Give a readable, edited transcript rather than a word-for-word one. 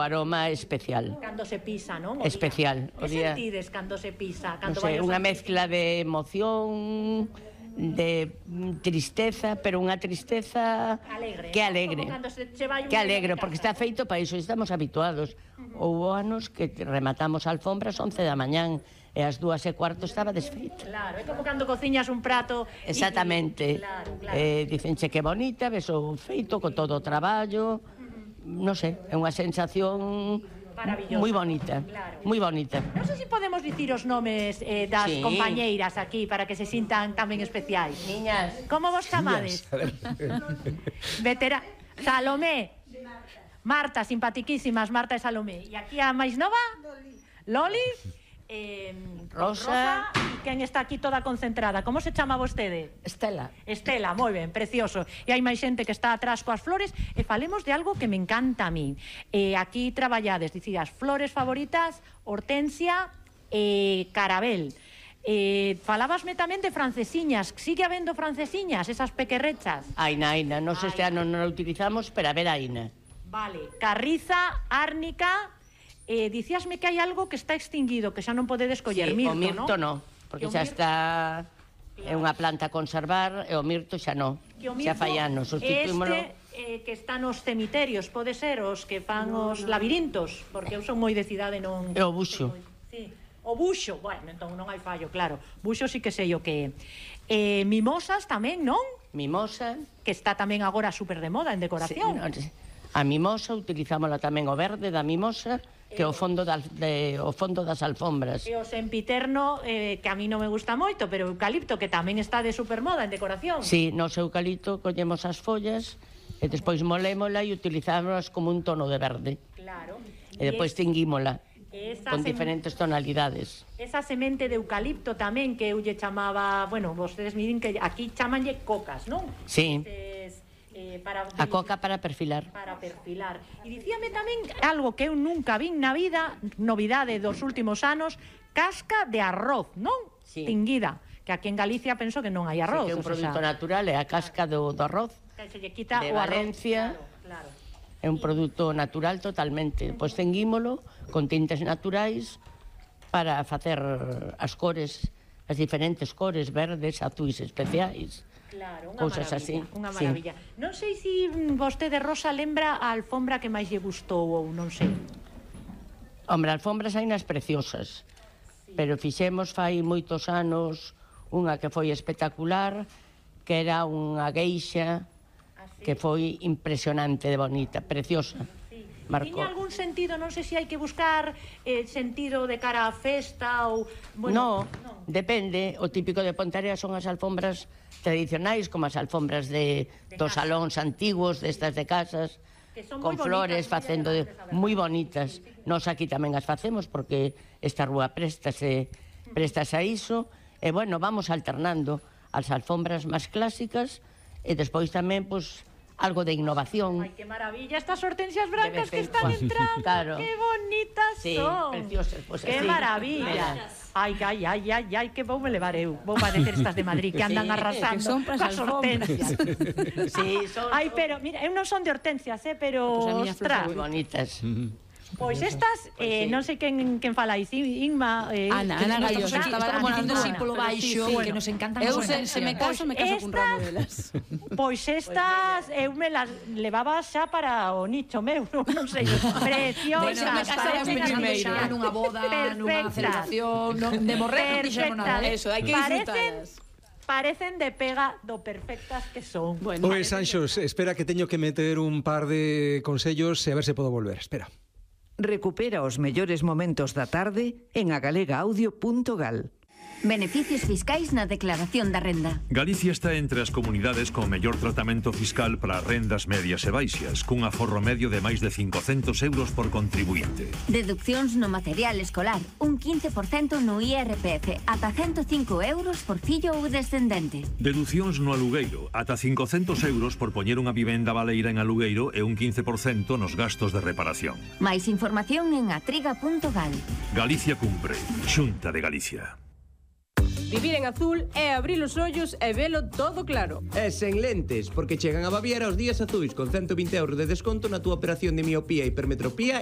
aroma é especial. Cando se pisa, non? Especial. Que sentides cando se pisa? Non sei, unha mezcla de emoción, de tristeza, pero unha tristeza que alegre. Que alegre, porque está feito para iso, estamos habituados. Houve anos que rematamos a alfombra ás 11 da mañán e ás 2:15 estaba desfeita. Claro, é como cando cociñas un prato. Exactamente. Dicenche que bonita, ves o feito con todo o traballo. Non sei, é unha sensación moi bonita, moi bonita. Non sei se podemos dicir os nomes das compañeiras aquí para que se sintan tamén especiais. Niñas, como vos chamades? Salomé, Marta, simpatiquísimas, Marta e Salomé. E aquí a máis nova? Loli, Rosa. E quen está aquí toda concentrada? Como se chama vostede? Estela. Estela, moi ben, precioso. E hai máis xente que está atrás coas flores. E falemos de algo que me encanta a mí. Aquí traballades, dicías, flores favoritas, hortensia e carabel. Falabasme tamén de francesiñas. Sigue habendo francesiñas, esas pequerrechas? Aina, non sei se non a utilizamos, pero a ver, aina. Vale, carriza, árnica. Dicíasme que hai algo que está extinguido, que xa non podedes coller, mirto, non? O mirto non, porque xa está... É unha planta a conservar, e o mirto xa non. Xa fai anos, sustituímolo... que está nos cemiterios, pode ser, os que fan os labirintos, porque eu son moi de cidade, non... É o buxo. O buxo, bueno, entón non hai fallo, claro. Buxo sí que sei o que é. Mimosas tamén, non? Mimosa. Que está tamén agora super de moda en decoración. A mimosa, utilizámola tamén o verde da mimosa, que é o fondo das alfombras. E o sempiterno, que a mí non me gusta moito, pero eucalipto, que tamén está de supermoda en decoración. Sí, nos eucalipto collemos as follas e despois molémola e utilizámolas como un tono de verde. Claro. E despois tinguímola con diferentes tonalidades. Esa semente de eucalipto tamén, que eu lle chamaba, bueno, vostedes miren que aquí chamanlle cocas, non? Sí. A coca para perfilar. Para perfilar. E dicíame tamén algo que eu nunca vin na vida, novidade dos últimos anos, casca de arroz, non? Tinguida. Que aquí en Galicia penso que non hai arroz. Que é un produto natural, é a casca do arroz de Valencia. É un produto natural totalmente. Pois tenguímolo con tintes naturais para facer as cores, as diferentes cores, verdes, azuis especiais. Claro, cousas así. Unha maravilla. Non sei se vostede, Rosa, lembra a alfombra que máis lle gustou ou non sei. Hombre, alfombras hai nas preciosas, pero fixemos fai moitos anos unha que foi espectacular, que era unha gueixa que foi impresionante de bonita, preciosa. Tiña algún sentido, non sei se hai que buscar sentido de cara á festa ou... Non, depende. O típico de Ponteareas son as alfombras tradicionais, como as alfombras dos salóns antigos, destas de casas, con flores, facendo moi bonitas. Nós aquí tamén as facemos, porque esta rúa préstase a iso, e, bueno, vamos alternando as alfombras máis clásicas, e despois tamén, pois, algo de innovación. Ai, que maravilla, estas hortensias brancas que están entrando. Claro. Que bonitas son. Sí, preciosas. Que maravilla. Ai, que vou me levar eu. Vou parecer estas de Madrid que andan arrasando as hortensias. Ai, pero, mira, eu non son de hortensias, pero, ostras. Moi bonitas. Pois estas, non sei quen falais, Inma... Ana Gallo, que estaba dicindo así polo baixo, que nos encantan as hortensias. Se me caso con ramo delas. Pois estas, eu me las levaba xa para o nicho meu, non sei, preciosas. Parecen nunha boda, nunha celebración, de morrer, non dixemos nada. Eso, hai que disfrutalas. Parecen de pega do perfectas que son. Oe, Sanxos, espera que teño que meter un par de consellos e a ver se podo volver. Espera. Recupera os mellores momentos da tarde en agalegaaudio.gal. Beneficios fiscais na declaración da renda. Galicia está entre as comunidades con mellor tratamento fiscal para rendas medias e baixas, cun aforro medio de máis de 500 euros por contribuinte. Deduccións no material escolar, un 15% no IRPF, ata 105 euros por fillo ou descendente. Deducións no alugueiro, ata 500 euros por poñer unha vivenda baleira en alugueiro e un 15% nos gastos de reparación. Máis información en atriga.gal. Galicia cumpre. Xunta de Galicia. Vivir en azul é abrir os ollos e velo todo claro. E sen lentes, porque chegan a Baviera os días azuis con 120 euros de desconto na túa operación de miopía, hipermetropía